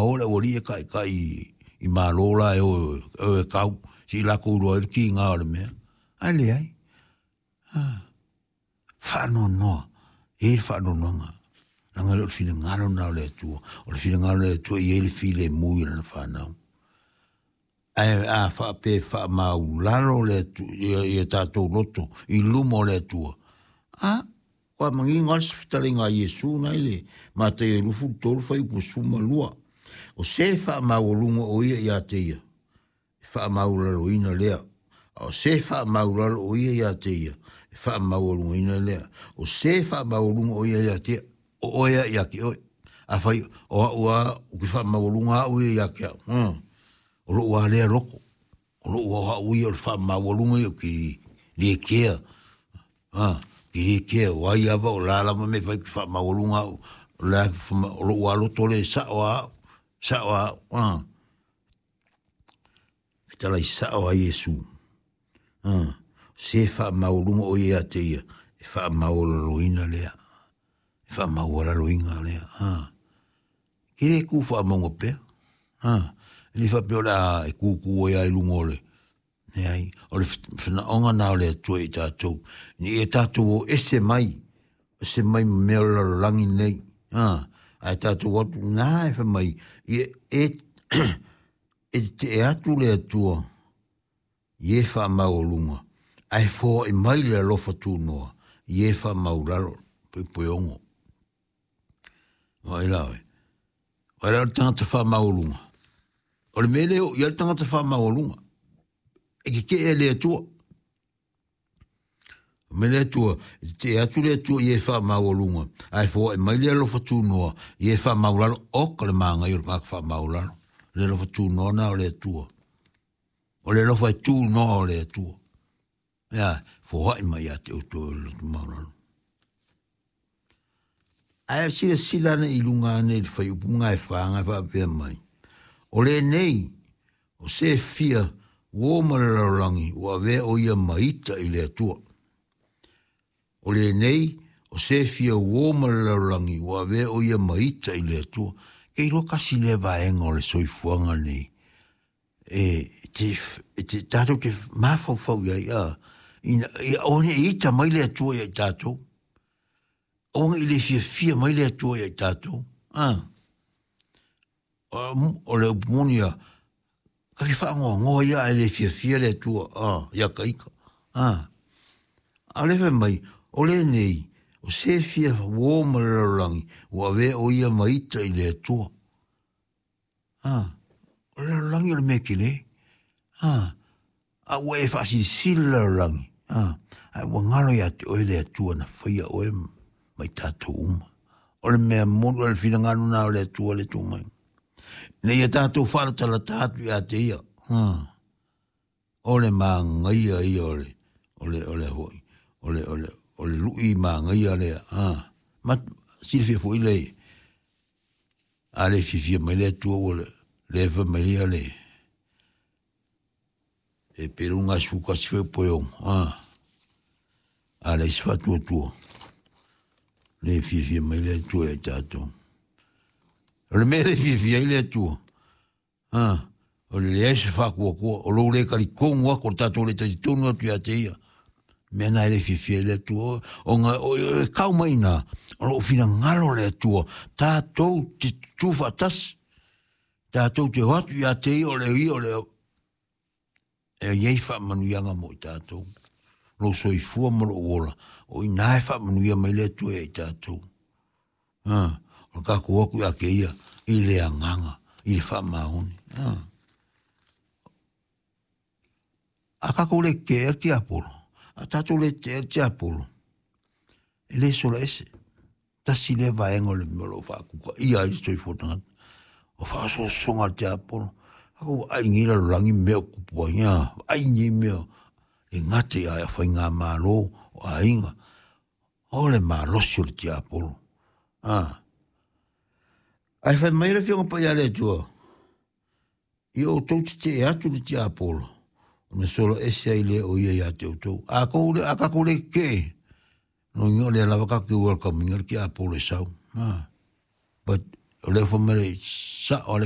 o le aualii e taitai i Malo la e o e kau, se i latou iloa ai le tiga o le mea. Ae leai. Faanoanoa, e i ai le faanoanoaga, leaga e le o le finagalo lena o le Atua. O le finagalo o le Atua e i ai le filemu i lana fanau. Ae a faapea e faamaulalo le Atua, ia tatou loto i luma o le Atua, a, ua manino lava le fetalaiga a Iesu na i le Mataio 23 fuaiupu 12. O se faamaualuga o ia ia te ia, e faamaualaloina lea. A o se faamaulalo o ia ia te ia, e faamaualugaina lea. O se faamaualuga o ia ia te ia, o oe a ia te oe. Afai o au a, ou te faamaualuga au ia ia te au. O lou a lea loto. O lou a au ia o le faamaualuga ia ou te le kea. Te le kea, o ai lava, o la lava mea e fai ou te faamaualuga au. O la, o lou a loto lea e sao a au, sao a au. Fetalai sao a Iesu. Se faamaualuga o ia ia te ia, e faamaualaloina lea. E faamaualaloina lea. E le tu faamauga pea. E le faapea o le a e tutu ai lava i luga o le... Leai, o le fanaoga na o le Atua i tatou. Ina ia tatou o ese mai, ese mai ma mea o le lalolagi nei. Ae tatou atu, na e fai mai, ia e, e tetee atu le Atua i e faamaualuga, ae foai mai le alofa tunoa i e faamaulalo, poepoeogo. Vaai la oe. Vaai la o le tagata faamaualuga. O le mea lea o i ai le tagata faamaualuga. E tetee e le Atua. Mai le Atua, e tetee atu le Atua i e faamaualuga, ae foai mai le alofa tunoa i e faamaulalo. Oka le manaia o le tagata faamaulalo. Le alofa tunoa na o le Atua. O le alofa e tunoa o le Atua. Ea, foai mai ia te outou e le loto maualalo. Ae silasila ane i luga ane i le fuaiupu ga e fa ga e faapea mai, O lenei, o se fia uo ma le lalolagi ua avea o ia ma ita i le Atua. O lenei, o se fia uo ma le lalolagi ua avea o ia ma ita i le Atua. Ke iloa kasi lea vaega o le soifuaga nei e te, e te, tatou te mafaufau i ai, a, ina, ia aua ne i ita mai le Atua ia i tatou. Aua ne i le fiafia mai le Atua ia i tatou. A, o le upu moni ia, ka te faanoanoa ia ae le fiafia le Atua, a, ia ka ita. A, a o le fai mai, o lenei, o se fia uo ma le lalolagi, ua avea o ia ma ita i le Atua. A, o le lalolagi o le mea tele. A, a ua e faasilisili le lalolagi. A, ae ua galo ia te oe le Atua na faia oe ma i tatou uma. O le mea moni, o le finagalo na o le Atua le tuu mai. Ina ia tatou faalatalata atu ia te ia. A, o le manaia ia o le, o le, o le foi, o le, o le, o le lui manaia lea. A, ma silafia foi le, a le fiafia mai le Atua ua le, le fai mai ia le, e pe luga 11 foi poe ono. A, a le isi faatuatua. Le fiafia mai le Atua ia i tatou. O le mea le fiafia ai le Atua, A, o le leai se faatuatua, o lou le talitonu atu, o le tatou le talitonu atu ia te ia. Mea na e le fiafia ai le Atua, ona e kau mai ina, o loo finagalo le Atua, tatou te tutu faatasi, tatou te o atu ia te ia, o le ia, o le e i ai faamanuiaga mo i tatou. Lou soifua ma lou ola, o ina e faamanuia mai le Atua ia i tatou. A, o le tatou o atu ia te ia i le agaga, i le faamaoni. A, a tatou le tetee le tiapolo, a tatou le tetee le tiapolo, e le sola ese. Tasi lea vaega o le mea o lo o faatutaia ai le soifua tagata. O faaosoosoga a le tiapolo. Ako vaai nei lalolagi mea o tupu ai, a, vaai nei mea e gata i a faigamalo, o aiga, o le malosi o le tiapolo. A. Ae fai mai le Afioga Paia a le Atua, ia outou tetee atu le tiapolo, ona sola ese ai lea o ia ia te outou. A kou le, a tatou le tetee, lona uiga o lea lava tatou te welcome ina le tiapolo e sau. A. But o lea fai mai le sao a le